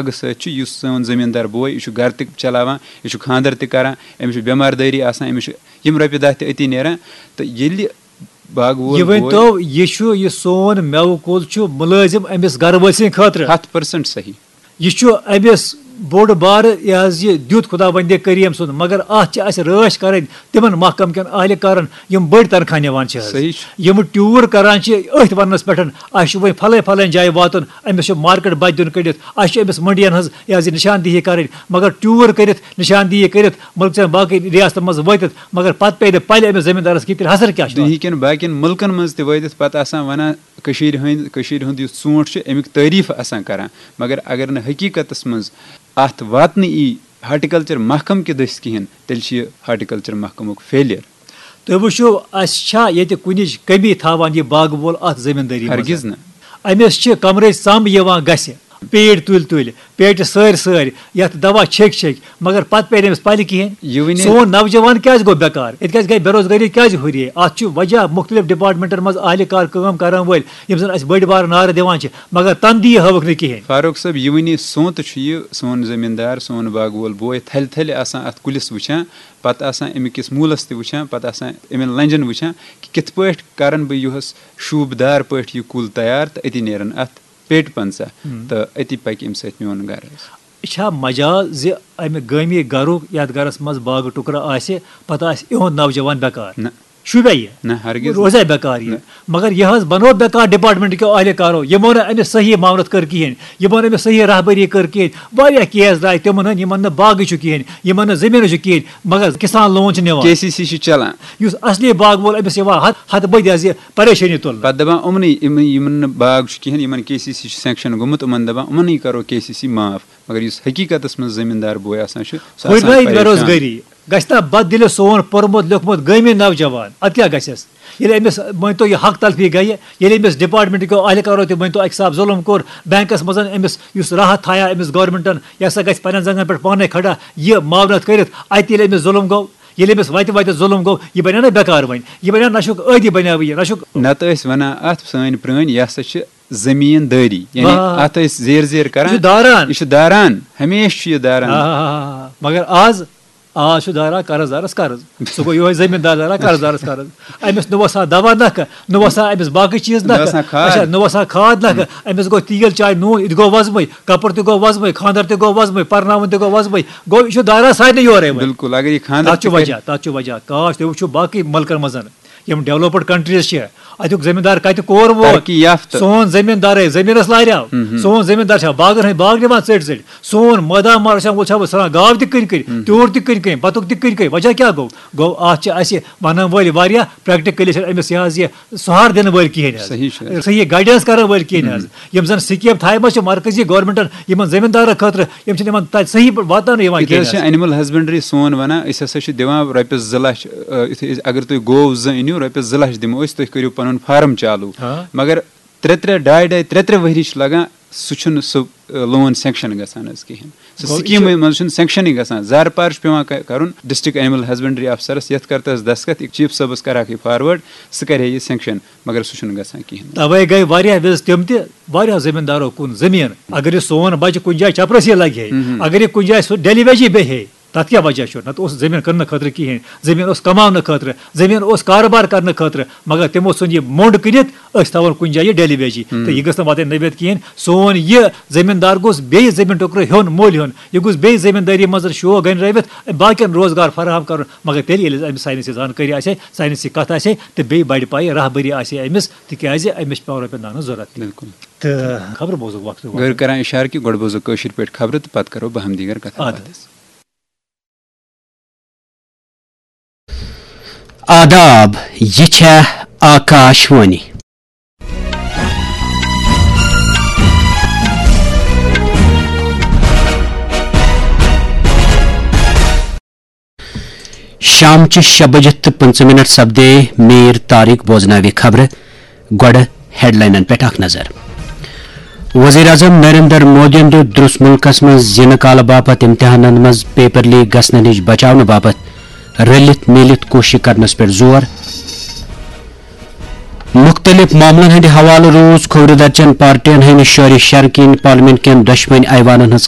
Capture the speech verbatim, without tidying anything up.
باغہٕ سۭتۍ چھُ، یُس سون زٔمیٖندار بوے، یہِ چھُ گرٕ تہِ چلاوان، یہِ چھُ خانٛدر تہِ کران، أمِس چھُ بٮ۪مار دٲری آسان، أمِس چھُ یِم رۄپیہِ دَہ تہِ أتی نیران۔ تہٕ ییٚلہِ باغہٕ وول یہِ بوے ؤنۍتو، یہِ چھُ، یہِ سون مٮ۪وٕ کُل چھُ مُلٲزِم أمِس گرٕ وٲلۍ سٕنٛدِ خٲطرٕ۔ ہَتھ percent صحیح۔ یہِ چھُ أمِس بوٚڑ بارٕ، یہِ حظ یہِ دیُت خۄداوندِ کریٖم سُنٛد، مگر اَتھ چھِ اَسہِ رٲچھ کَرٕنۍ تِمن محکمہٕ کٮ۪ن اہلہِ کارن، یِم بٔڑۍ تنخواہ نِوان چھِ حظ۔ صحیح چھُ۔ یِم ٹیوٗر کران چھِ أتھۍ وننس پٮ۪ٹھ، اَسہِ چھُ وۄنۍ پھلٲے پھلٲنۍ جایہِ واتُن، أمِس چھُ مارکیٹ بتہِ دیُن کٔڑِتھ، اَسہِ چھُ أمِس منڈین ہٕنٛز یہِ حظ یہِ نشاندہی کرٕنۍ، مگر ٹیوٗر کٔرِتھ، نشاندہی کٔرِتھ، مُلکہٕ چٮ۪ن باقٕے ریاستن منٛز وٲتِتھ، مگر پتہٕ پیٚیہِ نہٕ پلہِ أمِس زٔمیٖندارس کِہیٖنۍ، تیٚلہِ حسر کیٛاہ چھُ؟ دُنہِکٮ۪ن باقین مُلکن منٛز تہِ وٲتِتھ پتہٕ آسان ونان، کٔشیٖرِ ہٕنٛدۍ، کٔشیٖرِ ہُنٛد یُس ژوٗنٛٹھ چھُ، اَمیُک تعریٖف آسان کران، مگر اگر نہٕ حقیٖقتس منٛز اَتھ واتنہٕ یی ہارٹیکلچر محکمہٕ کہِ دٔسۍ کِہیٖنۍ، تیٚلہِ چھُ یہِ ہارٹیکلچر محکمُک failure۔ تُہۍ وٕچھِو، اَسہِ چھا ییٚتہِ کُنِچ کٔمی تھاوان یہِ باغہٕ وول اَتھ زٔمیٖندٲری منٛز؟ ہرگز نہٕ۔ أمِس چھِ کمرٕچ ژَم یِوان گژھِ، پیٖٹ تُلۍ تُلۍ، پیٹہِ سٲرۍ سٲرۍ، یَتھ دوا چھیٚکۍ چھیٚکۍ، مگر پتہٕ پیٚیہِ نہٕ أمِس پلہِ کِہیٖنۍ۔ یہِ ؤنِو۔ سون نوجوان کیٛازِ گوٚو بیکار؟ ییٚتہِ کیٛازِ گٔے بے روزگٲری کیٛازِ ہُریے؟ اَتھ چھُ وجہ مُختٔلِف ڈپارٹمنٹن منٛز اہلِ کار کٲم کرن وٲلۍ، یِم زن اَسہِ بٔڑۍ بارٕ نعرٕ دِوان چھِ، مگر تنہٕ دِیہِ ہٲوٕکھ نہٕ کِہیٖنۍ۔ فاروق صٲب، یہِ وٕنی سونتہٕ چھُ یہِ سون زٔمیٖندار، سون باغہٕ وول بوے تھلہِ تھلہِ آسان اَتھ کُلِس وٕچھان، پتہٕ آسان اَمہِ کِس موٗلس تہِ وٕچھان، پتہٕ آسان اَمٮ۪ن لنجن وٕچھان کہِ کِتھ پٲٹھۍ کرن بہٕ یُہُس شوٗبدار پٲٹھۍ یہِ کُل تیار تہٕ أتی نیرن اَتھ پیٹہِ پنٛژاہ، ہم۔ تہٕ أتی پکہِ اَمہِ سۭتۍ میون گرٕ حظ۔ یہِ چھا مجاز زِ امہِ گٲمی گرُک یتھ گرس منٛز باغہٕ ٹُکرٕ آسہِ، پتہٕ آسہِ یِہُنٛد نوجوان بیکار؟ نہ۔ شوٗبیا یہِ؟ نہ، ہرگز نہٕ۔ روزیا بیکار یہِ؟ نہ۔ مگر یہِ حظ بنوو بیکار ڈپارٹمنٹ کیو اہلہِ کارو، یِمو نہٕ أمِس صحیح معاونت کٔر کِہیٖنۍ، یِمو نہٕ أمِس صحیح رہبری کٔر کِہیٖنۍ۔ واریاہ کیس درٛاے تِمن ہٕنٛدۍ، یِمن نہٕ باغٕے چھُ کِہیٖنۍ، یِمن نہٕ زٔمیٖنٕے چھُ کِہیٖنۍ، مگر کسان لون چھُ نِوان۔ کے سی سی چھُ چلان۔ یُس اصلی باغہٕ وول أمِس یِوان ہتھ، ہتھ بٔدۍ حظ یہِ پریشٲنی تُلنہٕ۔ پتہٕ دپان یِمنٕے، یِم، یِمن نہٕ باغ چھُ کِہیٖنۍ، یِمن کے سی سی چھُ sanction گوٚمُت، یِمن دپان یِمنٕے کرو کے سی سی معاف۔ مگر یُس حقیٖقتس منٛز زٔمیٖندار بوے آسان چھُ، سُہ آسان ہُرنٲوِتھ بے پریشان۔ روزگٲری۔ گژھِ نا بددِلہِ سون پوٚرمُت لیوٚکھمُت گٲمی نوجوان؟ اَدٕ کیٛاہ گژھٮ۪س؟ ییٚلہِ أمِس مٲنۍ تو یہِ حق تلفی گٔیہِ، ییٚلہِ أمِس ڈپارٹمنٹ کیو اہلکارو تہِ مٲنۍ تو اَکہِ حساب ظُلم کوٚر، بینکس منٛز أمِس یُس راحت تھایہِ أمِس گورنمنٹن، یہِ ہسا گژھِ پننٮ۪ن زنٛگن پٮ۪ٹھ پانے کھڑا، یہِ معاونت کٔرِتھ، اَتہِ ییٚلہِ أمِس ظُلم گوٚو، ییٚلہِ أمِس وتہِ وتہِ ظُلم گوٚو، یہِ بنیٛاو نا بیکار وۄنۍ، یہِ بنیٛاو نشُک عٲدی بنیٛاو یہِ، نشُک۔ نتہٕ ٲسۍ ونان اتھ سٲنۍ پرٛٲنۍ، یہِ ہسا چھِ زٔمیٖن دٲری، یعنی آ۔ اتھ ٲسۍ زیٖر زیٖر کران۔ یہِ چھُ داران۔ یہِ چھُ داران، ہمیشہِ چھُ یہِ داران۔ آ، مگر آز، آز چھُ داران قرض دارس قرض۔ سُہ گوٚو یِہوٚے زٔمیٖندار داران قرض دارس قرض۔ أمِس نہٕ وسان دوا نکھٕ، نہٕ وسان أمِس باقٕے چیٖز نہٕ نکھٕ۔ وسان کھاد۔ اچھا، نہٕ وسان کھاد نکھٕ۔ أمِس گوٚو تیٖل چاے نوٗن، یہِ تہِ گوٚو وۄزمٕے، کپُر تہِ گوٚو وۄزمٕے، خانٛدر تہِ گوٚو وۄزمٕے، پرناوُن تہِ گوٚو وۄزمٕے۔ گوٚو یہِ چھُ داران سارنٕے یورے وۄنۍ۔ بِلکُل، اگر یہِ خانٛدر تَتھ چھُ تہِ وجہ، تَتھ چھُ وجہ۔ کاش تُہۍ وٕچھِو باقٕے مُلکن منٛز، یِم developed countries چھِ، اَتیُک زٔمیٖندار کَتہِ کور ووت؟ ترقی یافتہٕ۔ سون زٔمیٖندارے زٔمیٖنَس لاریو۔ مہم۔ سون زٔمیٖندار چھا باغن ہٕنٛدۍ باغ نِوان ژٔٹۍ ژٔٹۍ؟ سون مٲدان مار چھا وۄنۍ چھا وۄنۍ ژھٕنان گاو تہِ کٕنۍ کٕنۍ، ہُم۔ تیوٗر تہِ کٕنۍ کٕنۍ، بَتُک تہِ کٕنۍ کٕنۍ۔ وجہ کیٛاہ گوٚو؟ گوٚو اَتھ چھِ اَسہِ وَنَن وٲلۍ واریاہ، practically چھِنہٕ أمِس یہِ حظ یہِ سُہار دِنہٕ وٲلۍ کِہیٖنۍ حظ۔ صحیح چھُ۔ صحیح guidance کَرَن وٲلۍ کِہیٖنۍ حظ۔ ہُم۔ یِم زَن scheme تھایمَژٕ چھِ مرکزی governmentن یِمَن زٔمیٖندارَن خٲطرٕ، یِم چھِنہٕ یِمَن تَتہِ صحیح پٲٹھۍ واتناونہٕ یِوان ییٚتہِ کِہیٖنۍ حظ چھِ حظ۔ Animal husbandry سون وَنان، أسۍ ہسا چھِ دِوان رۄپیَس زٕ لَچھ، آ، یُتھُے أسۍ، اگر تُہۍ گٲو زٕ أنِو، رۄپیَس زٕ لَچھ دِمو أسۍ، تُہۍ کٔرِو پَنُن farm چالوٗ۔ ہاں۔ مگر ترٛےٚ ترٛےٚ، ڈاے ڈاے، ترٛےٚ ترٛےٚ ؤری چھِ لَگان، سُہ چھُنہٕ سُہ، آ، loan sanction گژھان حظ کِہیٖنۍ۔ سُہ گوٚو، یہِ چھُ سکیٖمٕے منٛز چھُنہٕ sanctionٕے گژھان۔ زارٕ پار چھُ پٮ۪وان ک-، کَرُن district animal husbandry افسرَس، یَتھ کَر تَس دستخط، chief صٲبَس کَرہاکھ یہِ forward، سُہ کَرِ ہے یہِ sanction، مگر سُہ چھُنہٕ گژھان کِہیٖنۍ۔ تَوَے گٔے واریاہ وِزِ تِم تہِ واریاہو زٔمیٖندارو کُن زٔمیٖن۔ اگر یہِ سون بَچہٕ کُنہِ جایہِ چَپرَسٕے لَگہِ ہے، مہم۔ اگر یہِ کُنہِ جایہِ سُہ daily wageٕے بیٚہہِ ہے، تَتھ کیٛاہ وجہ چھُ؟ نَتہٕ اوس زٔمیٖن کٕننہٕ خٲطرٕ کِہیٖنۍ، زٔمیٖن اوس کماونہٕ خٲطرٕ، زٔمیٖن اوس کارٕبار کَرنہٕ خٲطرٕ، مگر تِمو ژھُن یہِ موٚنٛڈ کٕنِتھ، أسۍ تھاوون کُنہِ جایہِ یہِ daily wage۔ ہم۔ تہٕ یہِ گٔژھ نہٕ واتٕنۍ نٔوِتھ کِہیٖنۍ۔ سون یہِ زٔمیٖندار گوٚژھ بیٚیہِ زٔمیٖن ٹُکرٕ ہیوٚن، مٔلۍ ہیوٚن، یہِ گوٚژھ بیٚیہِ زٔمیٖندٲری منٛز شوق گٔنٛڈرٲوِتھ، باقیَن روزگار فراہم کَرُن۔ مگر تیٚلہِ ییٚلہِ أمِس ساینسی زانکٲری آسہِ ہے، ساینسی کَتھ آسہِ ہے، تہٕ بیٚیہِ بَڑِ پَیہِ، راہبٔری آسہِ ہے أمِس، تِکیٛازِ أمِس چھِ پٮ۪وان رۄپیَن دَہَن ہٕنٛز ضوٚرَتھ تہِ۔ بِلکُل۔ تہٕ خبرٕ بوزُکھ وقتہٕ گٔر وقتہٕ۔ کران اِشارٕ کہِ گۄڈٕ بوزو کٲشِر پٲٹھۍ خبرٕ تہٕ پتہٕ کرو باہم دیٖگر کتھ اَدٕ۔ باتھ۔ آداب، یہِ چھےٚ آکاش وانی۔ شامچہِ شےٚ بجہِ تہٕ پٕنٛژٕہ منٹ سپدے میر طارق بوزناوِ خبرٕ۔ گۄڈٕ ہیڈلاینن پٮ۪ٹھ اکھ نظر۔ وزیر اعظم نریندر مودیَن دیُت درُس مُلکَس منٛز زِنہٕ کالہٕ باپتھ امتحانَن منٛز paper leak گژھنہٕ نِش بچاونہٕ باپتھ رٔلِتھ میٖلِتھ کوٗشِش کرنَس پٮ۪ٹھ زور۔ مُختٔلِف معاملن ہٕنٛدِ حوالہٕ روٗز کھوورِ درچن پارٹین ہٕنٛدِ شورِ شرکین پارلیمنٹ کٮ۪ن دۄشوٕنۍ ایوانن ہٕنٛز